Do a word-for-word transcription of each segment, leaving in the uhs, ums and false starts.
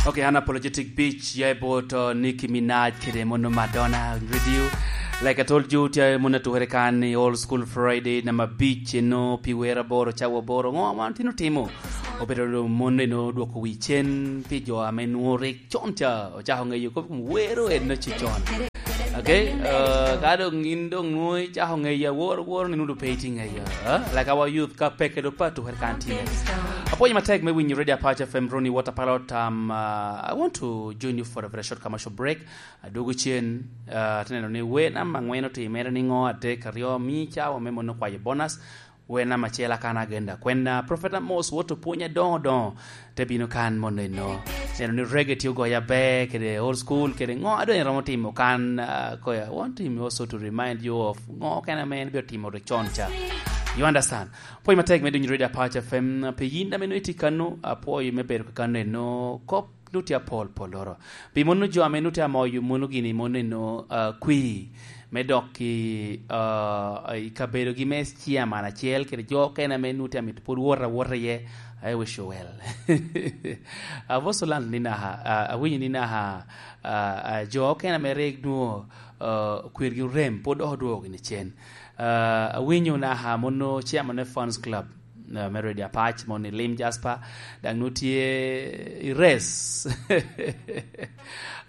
Okay, Unapologetic Beach, ya i bot, uh, Nicki Minaj kede mono Madonna, radio. Like I told you, tye mono atukere kan i Old School Friday, namba abic, eno, pi wer aboro, cawa aboro. Ngo wan tino timo? Obedo mono eno dwoko wi cen pi jo ame nwoŋo rik con ca ocako ŋeyo kop i kom wero eno ci con. Okay, uh, ka doŋ in doŋ nwoŋo icako ŋeyo awor, awor ni nwoŋo pe itye ŋeyo, uh, like our youth ka peke do pa tukere kan tye. Apwoyo matek me winyo Radio Apac F M, Ronnie Water Pilot, um, uh, I want to join you for a very short commercial break. Adwogo cen, uh, te neno ni wer namba angwen otimere ni ngo, adek, aryo, mi cawa me mono kwayo bonus. Wer namba acel akan agenda. Kwena Prophet Amos woto pwony adoŋo doŋo te bino kan mono eno. Neno ni reggae tye ogoyo aber, kede old school, kede ngo a doŋ eromo timo kan, ah, koya, want him also to remind you of ngo kene ame en bino timo rik con ca. You understand? Pwony matek me dunyo Radio Apac F M, pi yin ame nwoŋo itye kano, apwoyo me bedo ka kano eno, kop nut tye apol pol loro. Pi mono jo ame nut tye amoyo mono gini mono eno, ah, kwir me dok i, ah, i kabedogi me chairman acel kede jo okene ame nut tye amito pwod wot awota iye, I wish you well. Avoso land ni naka, ah, awinyo ni naka, ah, ah, jo okene ame rik nwoŋo, ah, kwirgi orem, pwod dok odwogo gini cen. Ah, awinyo naka mono chairman me Fans Club, ah, me Radio Apac, mono i Lim Jasper, daŋ nwoŋo tye i race.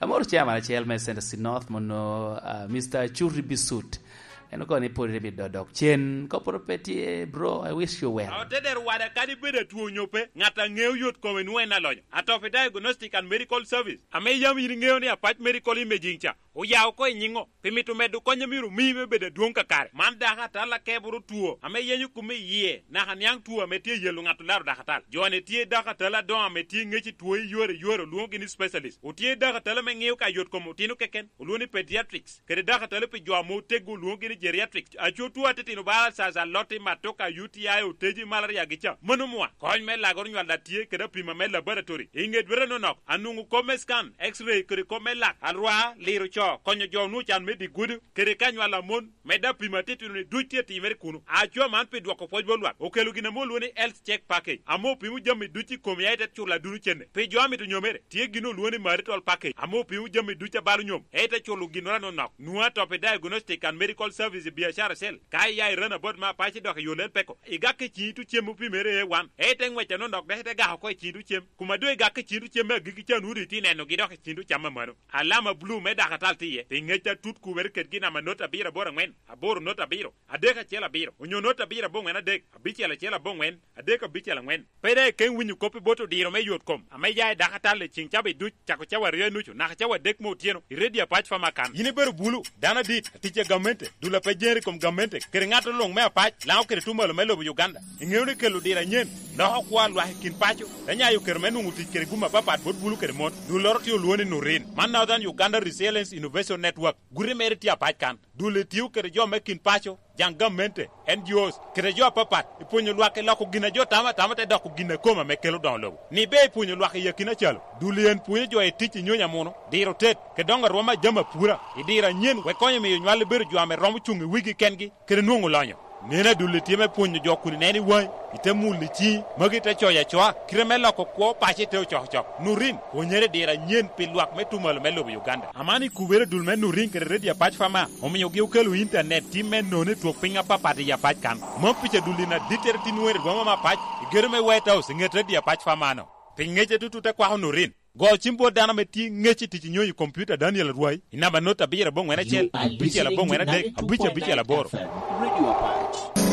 Amoro chairman acel me Center City North, mono, ah, Mister Churi Bisut. En okono ni pwod ite bino dok cen. Koporo pe tye, bro, I wish you well. Otedero wada, kadi bed atwo onyo pe, ŋat a ŋeo yot kome nwoŋo en alonyo. Atop i Diagnostic and Medical Service, ame yam in iŋeo ni Apac Medical Imaging ca, oya oko i nyiŋo, pi mito medo kony a myero omi me bedo adwoŋ kakare. Man dako atal akeboro two ame yenyo kome i yie, naka niaŋ two ame tye yelo ŋat olaro dako atal. Jo-ni tye dako atal adoŋo ame tye ŋec i two i yore yore, olwoŋogi ni specialist. Otye dako atal ame ŋeo ka yot kom otino keken, olwoŋo ni pediatrics, kede dako atal pi jo ame oteggo, olwoŋogi ni geriatrics. Aco two atitino bala, ulcers, aloti, matoka, U T I, oteji, malaria gi ca. Mano mwa. Kony me lagoro nywal a tye kede apima me laboratory. I ŋe dwete nonok, anwoŋo kop me scan, X-ray, kede kop me lak, alwar, liro co, konyo jo onwoŋo can me di gudo, kede ka nywal a mon, medde apima atitino-ni duc tye timere kuno. Aco man pi dwoko pwoc bot lwak, okelo gin ame olwoŋo ni Health Check Package, ame opimo jami duc i kom ya ite culo aduno cene. Pi jo amito nyomere, tye gin olwoŋo ni Marital Package, ame opimo jami duc a balo nyom, ite culo ginnoro anonok. Nwoŋo atop i Diagnostic and Medical Service i biacara acel. Ka iya i Runabout me Apac idok i yo Lel Peko, igak i ciŋ itu cem opimere A one, ite ŋwec anonok dok ite gako oko i ciŋ itu cem. Kuma doŋ igak i ciŋ itu cem me agikki ca, nwoŋo doŋ itye nenogi dok i ciŋ itu cam amano. Alama bulu me dako atal tye iye, pi ŋec atut kubere kedgi namba not abiro aboro aŋwen, aboro not abiro, adek acel abiro, onyo not abiro aboŋwen adek, abicel acel aboŋwen, adek abicel aŋwen. Pe daŋ ikeŋ winyo kop i bot odiro me yot kom ame ya i dako atal i ciŋ cawa duc, cako cawa aryo i nucu naka cawa adek me otyeno, i Radio Apac Farmer kan. Yin ibedo bulu, dano adit, atic a gamente, dul a pe jere i kom gamente, kede ŋat luŋ me Apac, Laŋo kede Tumalo me lobo Uganda. Iŋeo ni kelo odiro anyen loko kwo a lwak i kin paco, te nyayo kero me nwoŋo tic kede gum apapat bot bulu kede mon. Dulloro tye olwoŋo ni Nurin. Man Northern Uganda Resilience Innovation Network. Guti mere tye Apac kan. Dul-li tio kede jo me kin paco, jaŋ gamente, N G Os, kede jo apapat, i pwonyo lwak i loko gin a jo tamo atama te doko gin a kome ame kelo doŋo lobo. Ni ber i pwonyo lwak i akina calo, dul-li en pwonyo jo i tic i nyonyo amuno, diro tet, kede doŋo arwom a jami apura, i diro anyen, wek konyo miyo nywal-li bedo jo ame romo cuŋ i wigi kengi, kede nwoŋo lonyo. Neno, adul-li tye me pwonyo jo kun ineno i waŋi, ite mulo i ciŋi, magi te coyo acoa, kite me loko kwo paco ite ocokocok. Nurin, pwonyere i diro anyen pi lwak me Tumalo me lobo Uganda. Aman i kubere, dul me Nurin kede Radio Apac Farmer omiogi okelo intanet tim me nono i twok piny apapat i Apac kan. Mom pica dul-li na dittere tin wene rwoma me Apac, i gedo me White House, i ŋet Radio Apac Farmer-no. Pi ŋec atutut te kwako Nurin. Go cim bot dano ame tye ŋec i tic i nyonyo i kompiuta, Daniel Arwai, i namba not abiro aboŋwen acel, abicel aboŋwen adek, abic abicel aboro. Radio Apac.